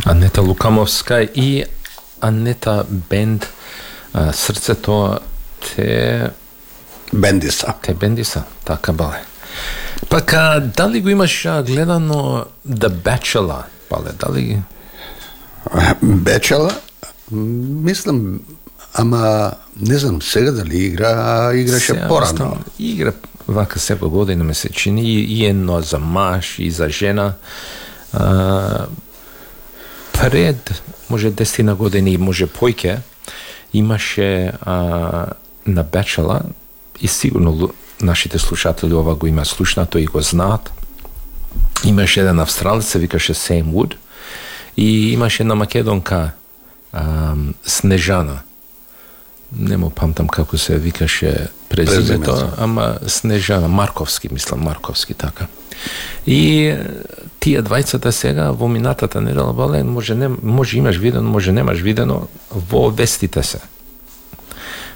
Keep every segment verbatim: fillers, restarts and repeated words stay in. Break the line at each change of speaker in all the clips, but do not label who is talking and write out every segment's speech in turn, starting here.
Анета Лукамовска и Анета Бенд, а, Срцето те
Бендиса.
Те Бендиса, така бале. Пак, а, дали го имаш а, гледано The Bachelor, бале, дали...
Бачела? Мислам, ама не знам сега дали игра, играше
Сега,
порано.
мислам, игра вака секоја година ме се чини, и едно за маж и за жена. А, пред, може десетина години, може појќе, имаше а, на Бачела, и сигурно нашите слушатели ова го има слушнато и го знаат. Имаше еден австралец, се викаше Сейм Вуд, и имаше една македонка а, Снежана. Не му памтам како се викаше презимето, ама Снежана Марковски, мислам Марковски, така. И тие двајцата сега во минатата недела, бале, може не може имаш видено, може немаш видено, во вестите се.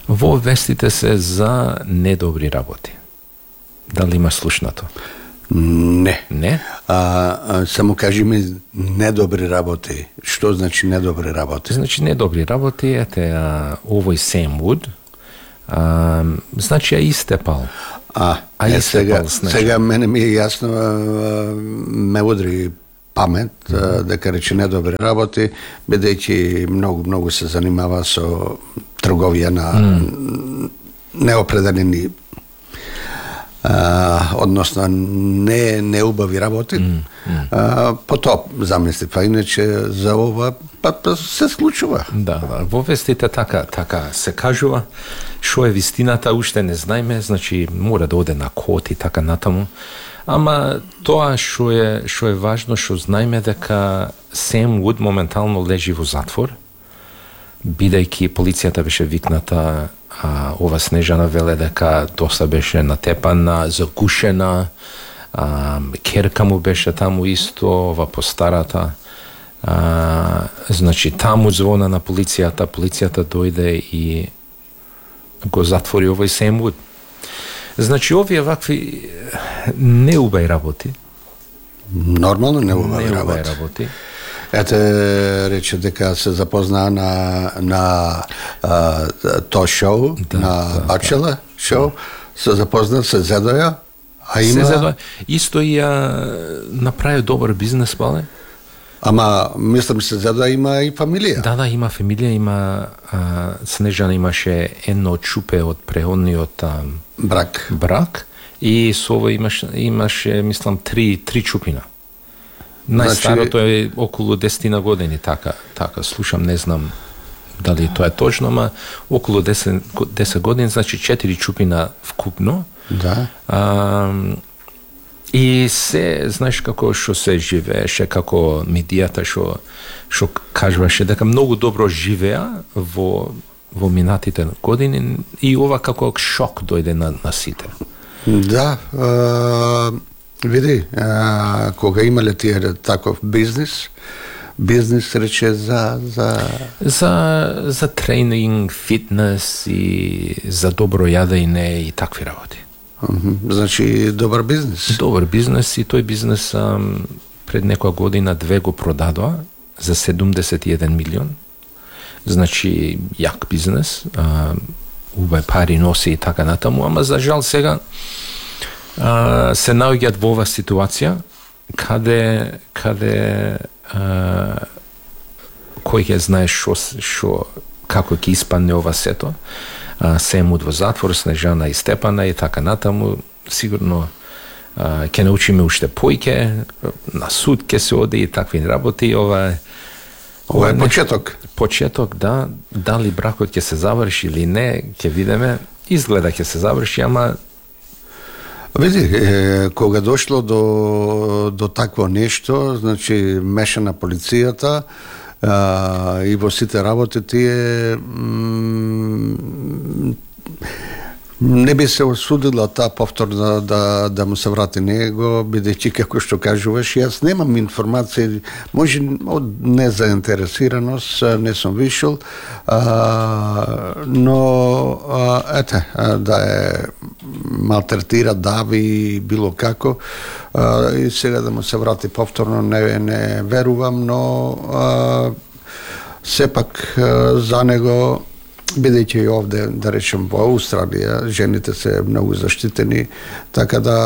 Во вестите се за недобри работи. Дали имаш слушнато?
Не.
Не?
А, а само кажи ми недобри работи. Што значи недобри работи?
Значи недобри работи, ете, а, овој Сейм Вуд, а, значи ја истепал.
А,
а
е,
истепал,
сега,
значи.
сега мене ми е јасно, а, ме удри памет, а, дека рече недобри работи, бидејќи многу, многу се занимава со трговија на mm. неопределени а, односно не неубави работи. Mm, mm. А, потоа замисли, па иначе за ова па, па се случува.
Да, да, во вестите така така се кажува. Што е вистината уште не знаеме, значи мора да оде на код и така натаму. Ама тоа што е што е важно, што знаеме дека Сейм Вуд моментално лежи во затвор, бидејќи полицијата беше викната. А, ова Снежана веле дека доста беше натепана, загушена, а, керка му беше таму исто, ова постарата. А, значи таму звона на полицијата, полицијата дојде и го затвори овој Сейм Вуд. Значи овие вакви неубави работи.
Нормално неубави работи.
работи.
Ете, рече дека се запознаа на на а, тоа шоу, да, на да, Бачела да. шоу, се запознаа, се зедоја, а има...
Се зедоја. Исто и а, направи добар бизнес, бале.
Ама, мислам, се зедоја има и фамилија.
Да, да, има фамилија, има... А, Снежана имаше едно чупе од преходниот а,
брак.
брак, и со ово имаше, имаше, мислам, три, три чупина. Најстарото е околу десет години, така, така, слушам, не знам дали тоа е точно, ама околу десет, десет години, значи четири чупина вкупно.
Да.
А, и се, знаеш како што се живееше, како медијата што што кажуваше дека многу добро живеа во во минатите години, и ова како шок дојде на, на сите.
Да, а... Види, а, кога имале тие таков бизнис, бизнис рече за за
за за тренинг, фитнес и за добро јадење и такви работи.
Mm-hmm. Значи добар бизнес.
Добар бизнес, и тој бизнес а, пред некоја година две го продадоа за седумдесет и еден милион. Значи јак бизнес, а, убави пари носи и така натаму, ама за жал сега Uh, се наоѓаат во ова ситуација каде каде uh, кој ќе знае што што како ќе испадне ова сето. Uh, Сейм Вуд во затвор, Снежана и Степана и така натаму, сигурно uh, ќе научиме уште појќе, на суд ќе се оди и такви работи. Ова е
ова е почеток.
Почеток, да, дали бракот ќе се заврши или не, ќе видиме. Изгледа ќе се заврши, ама
Види, е, кога дошло до, до такво нешто, значи меша на полицијата а, и во сите работи тие м, Не би се осудила таа повторно да, да му се врати него, бидејќи како што кажуваш, јас немам информации, може од незаинтересираност, не сум вишел, а, но а, ете, да е малтретира, дави, било како, а, и сега да му се врати повторно не, не верувам, но а, сепак а, за него, бидејќи и овде, да речем, во Австралија, жените се многу заштитени, така да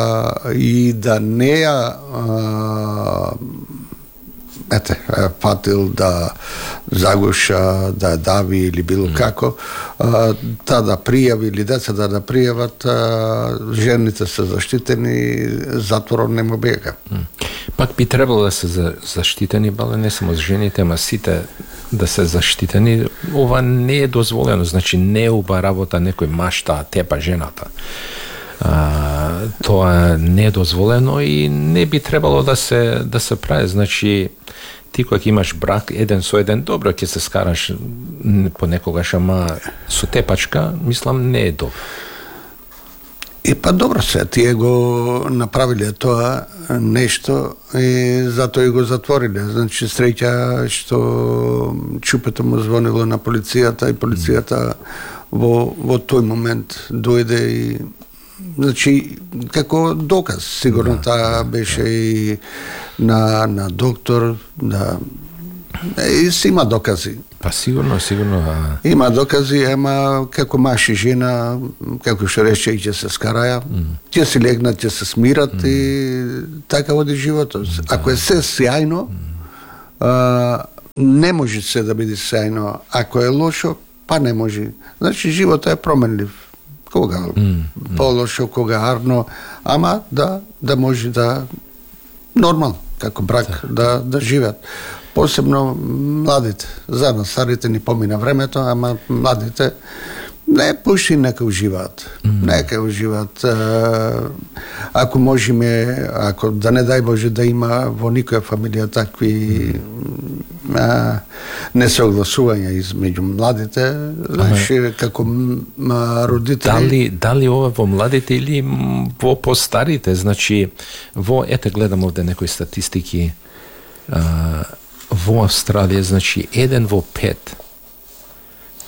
и да не ја ете, фатил да загуша, да дави или било mm. како, а, та да пријави или деца да да пријават, а, жените се заштитени, затворот не му бега. Mm.
Пак би требало да се за, заштитени, бале не само жените, ама сите да се заштитени. Ова не е дозволено, значи не е уба работа некој машта тепа жената. А, тоа не е дозволено и не би требало да се да се прави. Значи ти кога имаш брак еден со еден, добро ќе се скараш понекогаш, ама со тепачка, мислам, не е добро.
И па добро се, тие го направиле тоа нешто и затоа и го затвориле. Значи среќа што чупето му звонило на полицијата и полицијата во, во тој момент дојде и значи како доказ, сигурно да, таа беше и на, на доктор, да, и си има докази.
Па сигурно, сигурно. А...
Има докази, ама како маж и жена, како што рече, ќе се скараја, mm. ќе се легнат, ќе се смират mm. и така води животот. Mm. Ако е се сјајно, mm. а, не може се да биде сјајно. Ако е лошо, па не може. Значи животот е променлив. Кога mm. по-лошо, кога арно, ама да да може да нормално, како брак, да, да живеат. Посебно младите. За нас старите ни помина времето, ама младите не пуши, нека уживаат. Mm. Нека уживаат. Ако можеме, ако да не дај Боже да има во никоја фамилија такви mm. а, несогласувања измеѓу младите, значи како м, родители.
Дали дали ова во младите или во постарите? Значи во ете гледам овде некои статистики. А, во Австралија, значи, еден во пет,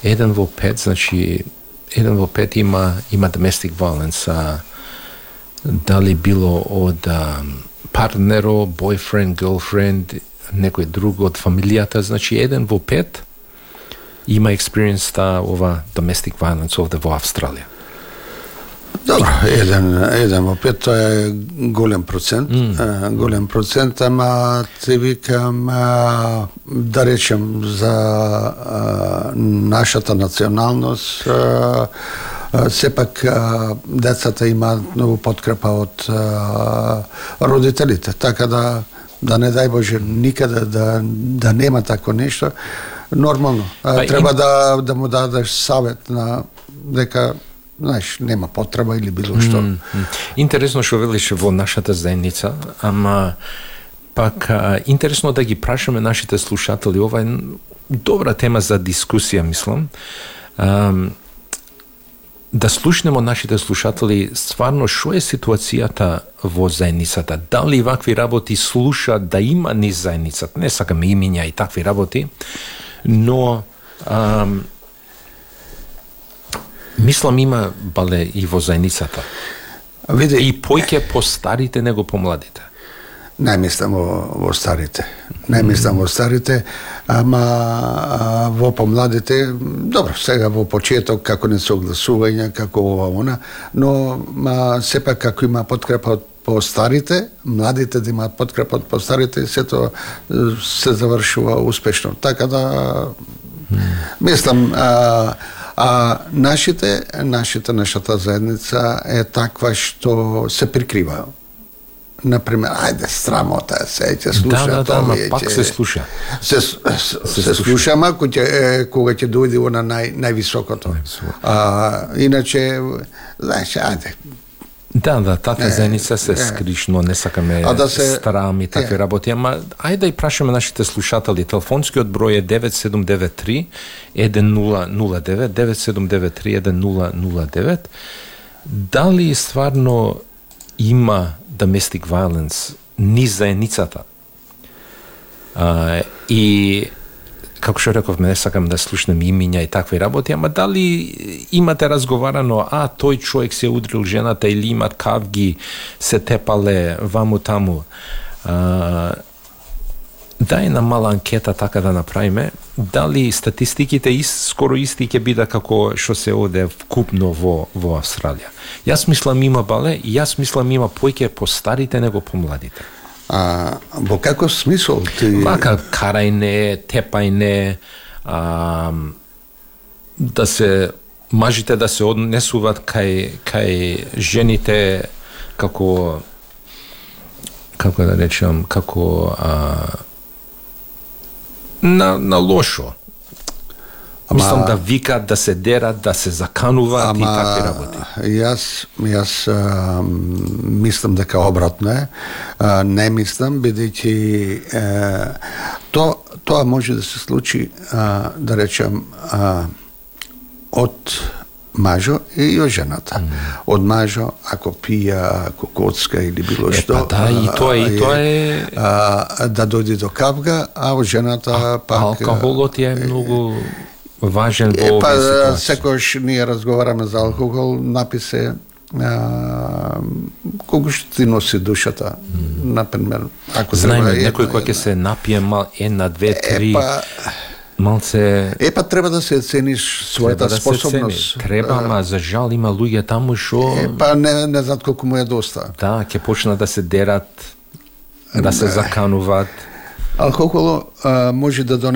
еден во пет, значи, еден во пет има, има domestic violence, а, дали било од а, партнеро, boyfriend, girlfriend, некој друг од фамилијата, значи, еден во пет има experience та ова domestic violence овде во Австралија.
Добро, еден, еден во пет, тоа е голем процент, mm. голем процент, ама ти викам, да речем, за нашата националност, сепак децата имаат многу подкрепа од родителите, така да, да не дај Боже никаде да, да нема такво нешто, нормално. Па, треба им... да, да му дадеш савет на дека знаеш, нема потреба или било што. Mm, mm.
Интересно што велиш во нашата заедница, ама пак а, интересно да ги прашаме нашите слушатели. Ова е добра тема за дискусија, мислам. А, да слушнемо нашите слушатели стварно што е ситуацијата во заедницата. Дали вакви работи слуша да има низ заедницата. Не сакаме имиња и такви работи, но а, мислам има бале и во заедницата.
Види,
и поќе по старите него по младите.
Не мислам во, во старите. Не мислам во старите, ама а, во помладите, добро, сега во почеток како несогласување, како ова она, но ма, сепак како има подкрепа од по старите, младите да имаат подкрепа од по старите, сето се завршува успешно. Така да мислам, а, а нашите, нашите, нашата заедница е таква што се прикрива. Например, ајде, срамота, се ќе слуша
да, да,
тоа.
Да, пак се слуша.
Се, се, се, се слуша, ама кога ќе, кога ќе дојде на нај, највисокото. А, иначе, знаеш, ајде,
Да, да, тата заедница се скришно, не сакаме да се старам и такви е. работи, ама ајде да и прашаме нашите слушатели. Телефонскиот број е девет седум девет три еден нула нула девет, девет седум девет три еден нула нула девет. дали стварно има domestic violence низ заедницата? А, и како што реков, не сакам да слушнам имиња и такви работи, ама дали имате разговарано, а тој човек се удрил жената или имат кавги, се тепале ваму таму. А, дај на мала анкета така да направиме, дали статистиките ис, скоро исти ќе биде како што се оде вкупно во, во Австралија. Јас мислам има бале, и јас мислам има појќе по старите него по младите.
А, во каков смисол ти...
Вака, карајне, тепајне, а, да се, мажите да се однесуват кај, кај жените како, како да речам, како а, на, на лошо. Ама, мислам да викат, да се дерат, да се закануваат ама, и такви работи.
Јас, јас а, мислам дека обратно е. А, не мислам, бидејќи то, тоа може да се случи, а, да речем, а, од мажо и од жената. Mm. Од мажо, ако пија, ако коцка или било
е,
што.
Па да, и тоа, и тоа е...
А, да дојде до кавга, а од жената а, пак...
Алкохолот е многу... важен во овие
па,
ситуации.
секојаш ние разговараме за алкохол, написе а, колку што ти носи душата. Mm. Например, ако
знаеме некој кој ќе се напие мал една, две, три,
епа,
малце...
Епа треба да се цениш својата
да
способност.
Треба, ама за жал има луѓе таму што...
Епа не, не знаат колку му е доста.
Да, ќе почнат да се дерат, да се закануваат.
Алкохол може да донесе